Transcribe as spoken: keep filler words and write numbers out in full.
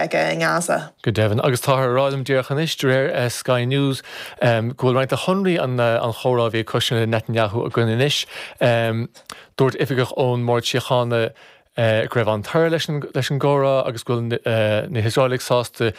aige i nGaza. Go deimhin agus táthar ag rá liom díreach anois de réir uh, Sky News um, go bhfuil roinnt de shonraí an, uh, an chomhrá a bhí ag Netanyahu againn anois. Um, dúirt oifigeach ón mBord Síochána uh, go raibh an-toradh leis an, leis an gcomhrá agus go bhfuil uh, na hIosraelaigh sásta